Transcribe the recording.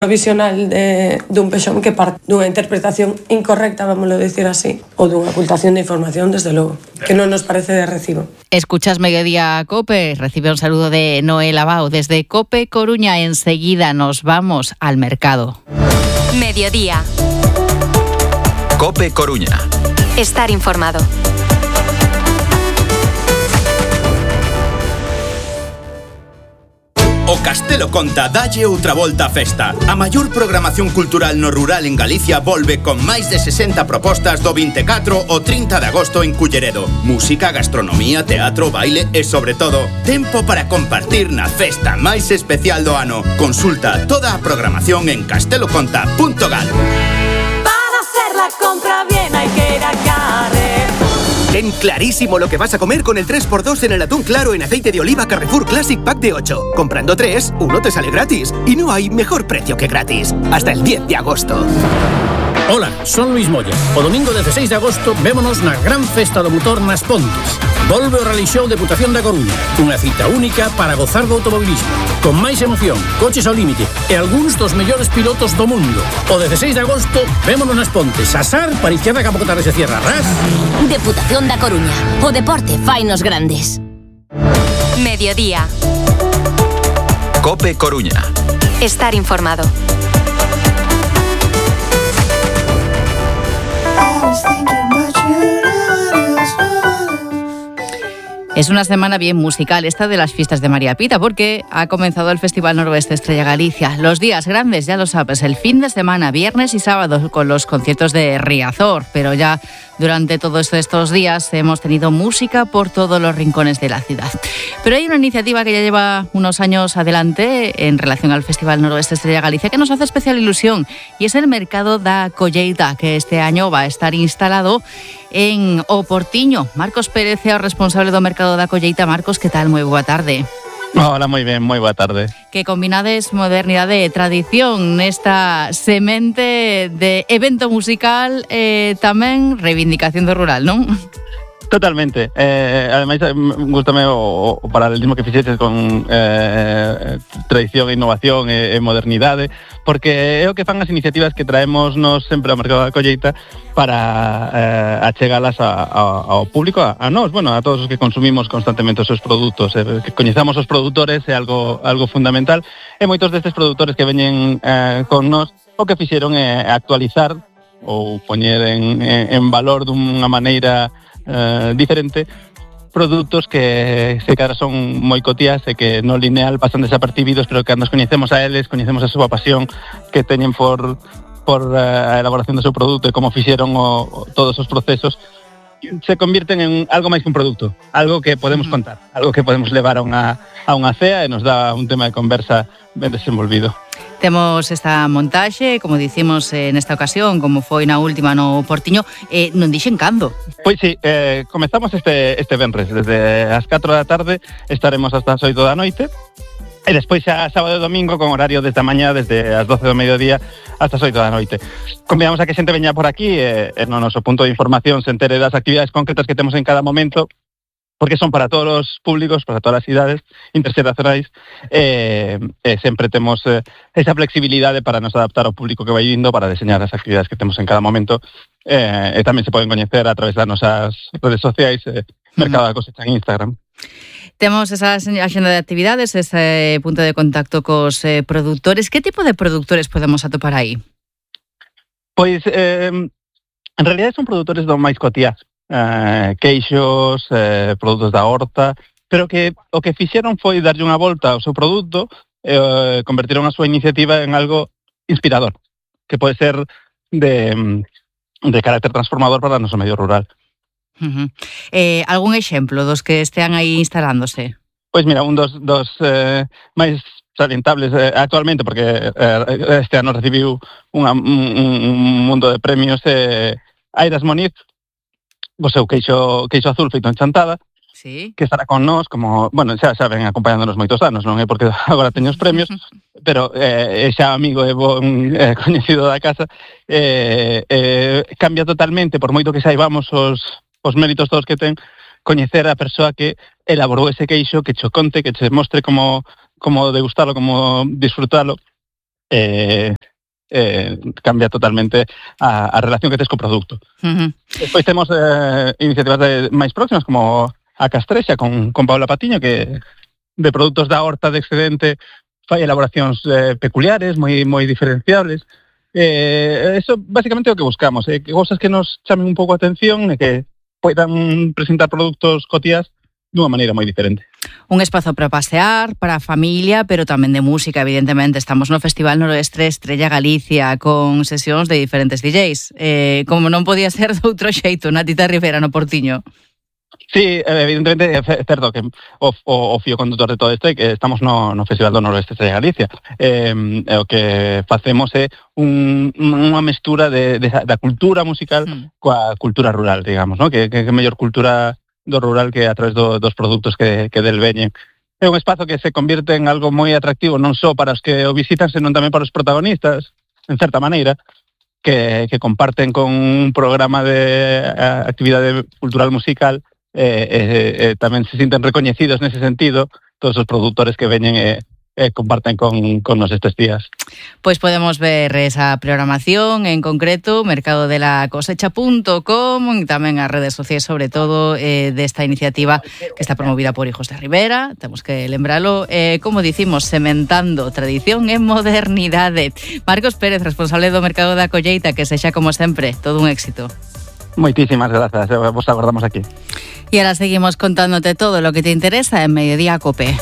provisional dun pexón que parte dunha interpretación incorrecta, vámoslo decir así, ou dunha ocultación de información, desde logo, que non nos parece de recibo. Escuchas Mediodía Cope, recibe un saludo de Noel Abao desde Cope Coruña. Enseguida nos vamos al mercado. Mediodía. Cope Coruña. Estar informado. O Castelo Conta dalle outra volta á festa. A maior programación cultural no rural en Galicia volve con máis de 60 propostas do 24 ao 30 de agosto en Culleredo. Música, gastronomía, teatro, baile e, sobre todo, tempo para compartir na festa máis especial do ano. Consulta toda a programación en casteloconta.gal. Para hacer la compra bien hay que ir a Carrefour. Ten clarísimo lo que vas a comer con el 3x2 en el atún claro en aceite de oliva Carrefour Classic Pack de 8. Comprando 3, uno te sale gratis. Y no hay mejor precio que gratis. Hasta el 10 de agosto. Hola, son Luis Moya. O domingo 16 de agosto vémonos na gran festa do motor nas Pontes. Volve o Rally Show Deputación da Coruña. Unha cita única para gozar do automobilismo. Con máis emoción, coches ao límite e algúns dos mellores pilotos do mundo. O 16 de agosto vémonos nas Pontes. Asar para izquierda Campo Cotarres de Sierra Ras. Deputación da Coruña. O deporte fainos grandes. Mediodía. Cope Coruña. Estar informado. Es una semana bien musical esta de las fiestas de María Pita, porque ha comenzado el Festival Noroeste Estrella Galicia. Los días grandes, ya lo sabes, el fin de semana, viernes y sábado, con los conciertos de Riazor. Pero ya durante todos estos días hemos tenido música por todos los rincones de la ciudad. Pero hay una iniciativa que ya lleva unos años adelante en relación al Festival Noroeste Estrella Galicia que nos hace especial ilusión, y es el Mercado da Colleita, que este año va a estar instalado en O Portiño. Marcos Pérez é o responsable do Mercado da Colleita. Marcos, que tal? Moi boa tarde. Hola, moi ben, moi boa tarde. Que combinades modernidade e tradición nesta semente de evento musical e tamén reivindicación do rural, non? Totalmente. Ademais, gústame o paralelismo que fixeches con tradición e innovación e modernidade, porque é o que fan as iniciativas que traemos nos sempre ao Mercado da Colleita para achegalas ao público, a nós, bueno, a todos os que consumimos constantemente os seus produtos. Que coñezamos os produtores é algo fundamental, e moitos destes produtores que veñen con nós o que fixeron é actualizar ou poñer en valor dunha maneira diferente produtos que se cara son moi cotías e que no lineal pasan desapercibidos, pero que cando nos coñecemos a eles, coñecemos a súa pasión que teñen por a elaboración do seu produto e como fixeron todos os procesos, se convirten en algo máis que un produto, algo que podemos contar, algo que podemos levar a unha cea e nos dá un tema de conversa ben desenvolvido. Temos esta montaxe, como dicimos nesta ocasión, como foi na última no Portiño, non dixen cando. Pois sí, comezamos este venres, desde as 4 da tarde estaremos hasta as 8 da noite, e despois xa sábado e domingo con horario desde a mañá, desde as 12 do mediodía hasta as 8 da noite. Convidamos a que xente veña por aquí e no noso punto de información se entere das actividades concretas que temos en cada momento, porque son para todos os públicos, para todas as idades interxeracionais, e sempre temos esa flexibilidade para nos adaptar ao público que vai vindo, para diseñar as actividades que temos en cada momento, e tamén se poden coñecer a través das nosas redes sociais, Mercado da Cosecha en Instagram. Temos esa axenda de actividades, ese punto de contacto cos produtores. Que tipo de produtores podemos atopar aí? Pois, en realidad son produtores do máis cotiás, queixos, produtos da horta, pero que o que fixeron foi darlle unha volta ao seu produto e convertiron a súa iniciativa en algo inspirador, que pode ser de carácter transformador para o noso medio rural. Algún exemplo dos que estean aí instalándose? Pois mira, un dos máis salientables actualmente, porque este ano recibiu un mundo de premios, Airas Moniz, o seu queixo azul feito en Chantada, sí, que estará con nós, como, bueno, xa ven acompañándonos moitos anos, non é porque agora teño os premios, pero é xa amigo e bon coñecido da casa, cambia totalmente, por moito que saibamos os méritos todos que ten, coñecer a persoa que elaborou ese queixo, que cho conte, que che mostre como degustarlo, como disfrutalo, cambia totalmente a relación que tes co produto. Despois temos iniciativas máis próximas, como a Castrexa con Paula Patiño, que de produtos da horta de excedente fai elaboracións peculiares, moi diferenciables. Eso basicamente é o que buscamos, que cosas que nos chamen un pouco a atención e que poidan presentar produtos cotiás dunha maneira moi diferente. Un espazo para pasear, para a familia, pero tamén de música, evidentemente. Estamos no Festival Noroeste Estrella Galicia con sesións de diferentes DJs. Como non podía ser de outro xeito, Natita Rivera no Portiño. Sí, evidentemente é certo que o fío condutor de todo isto é que estamos no Festival do Noroeste Estrella Galicia. O que facemos é unha mestura da cultura musical coa cultura rural, digamos, ¿no? Que mellor cultura do rural que a través dos produtos que del veñen. É un espazo que se convierte en algo moi atractivo non só para os que o visitan, senón tamén para os protagonistas, en certa maneira, que comparten con un programa de actividade cultural musical, tamén se sinten recoñecidos nese sentido todos os produtores que veñen comparten con nos estes días. Pois podemos ver esa programación, en concreto mercadodelacosecha.com, e tamén as redes sociais, sobre todo, desta iniciativa que está promovida por Hijos de Ribera. Temos que lembralo, como dicimos, sementando tradición e modernidade. Marcos Pérez, responsable do Mercado da Colleita, que sexa, como sempre, todo un éxito. Moitísimas grazas, vos agardamos aquí. Y ahora seguimos contándote todo lo que te interesa en Mediodía Cope.